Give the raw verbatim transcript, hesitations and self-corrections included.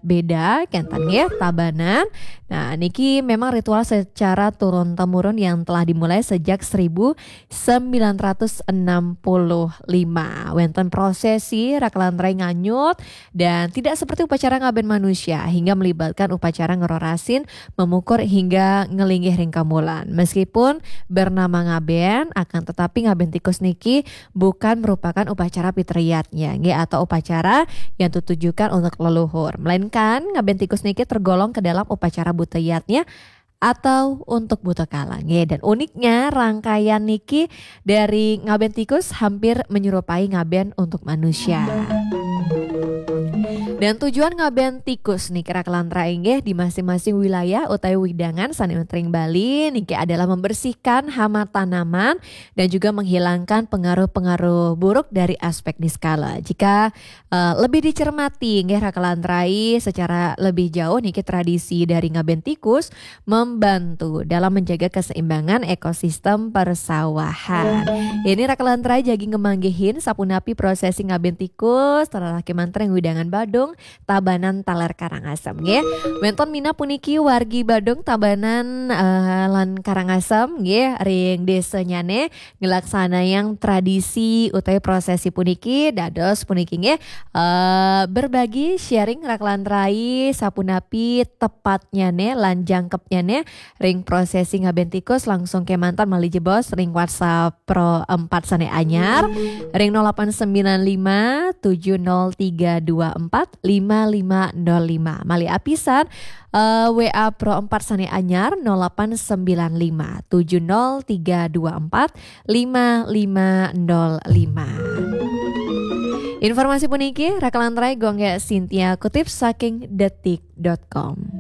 beda, kenten nggih, Tabanan. Nah, niki memang ritual secara turun-temurun yang telah dimulai sejak seribu sembilan ratus enam puluh lima. Wenten prosesi, raka lan rai, nganyut, dan tidak seperti upacara ngaben manusia, hingga melibatkan upacara ngerorasin, memukur, hingga ngelinggih ring kamulan. Meskipun bernama ngaben, akan tetapi ngaben tikus niki bukan merupakan upacara pitriyatnya, nggih, atau upacara yang ditujukan untuk leluhur, melainkan ngaben tikus niki tergolong ke dalam upacara buta yadnya atau untuk buta kala, nggih. Dan uniknya, rangkaian niki dari ngaben tikus hampir menyerupai ngaben untuk manusia. Dan tujuan ngaben tikus niki, raka lan rai, nggih, di masing-masing wilayah utawi wewidangan sane wenten ring Bali niki adalah membersihkan hama tanaman dan juga menghilangkan pengaruh-pengaruh buruk dari aspek niskala. Jika eh, lebih dicermati, nggih, raka lan rai, secara lebih jauh niki, tradisi dari ngaben tikus membantu dalam menjaga keseimbangan ekosistem persawahan. Ini, raka lan rai, jagi ngemanggihin sapunapi prosesi ngaben tikus, terarah kemanten ring wewidangan Badung, Tabanan, taler Karangasem, nggih. Wenten minab puniki wargi Badung, Tabanan, eh, lan Karangasem, nggih, ring desanyane nglaksanayang tradisi utawi prosesi puniki. Dados puniki, nggih, eh, berbagi, sharing, raka lan rai, sapunapi tepatnyane lan jangkepnyane ring prosesi ngaben tikus, langsung kemanten malih jebos ring WhatsApp Pro empat sane anyar ring nol delapan sembilan lima tujuh nol tiga dua empat lima lima nol lima. Malih apisan, eh, WA Pro empat sane anyar nol delapan sembilan lima tujuh nol tiga dua empat lima lima nol lima. Informasi puniki, raka lan rai, Gung Gek Sintia kutip saking detik dot com.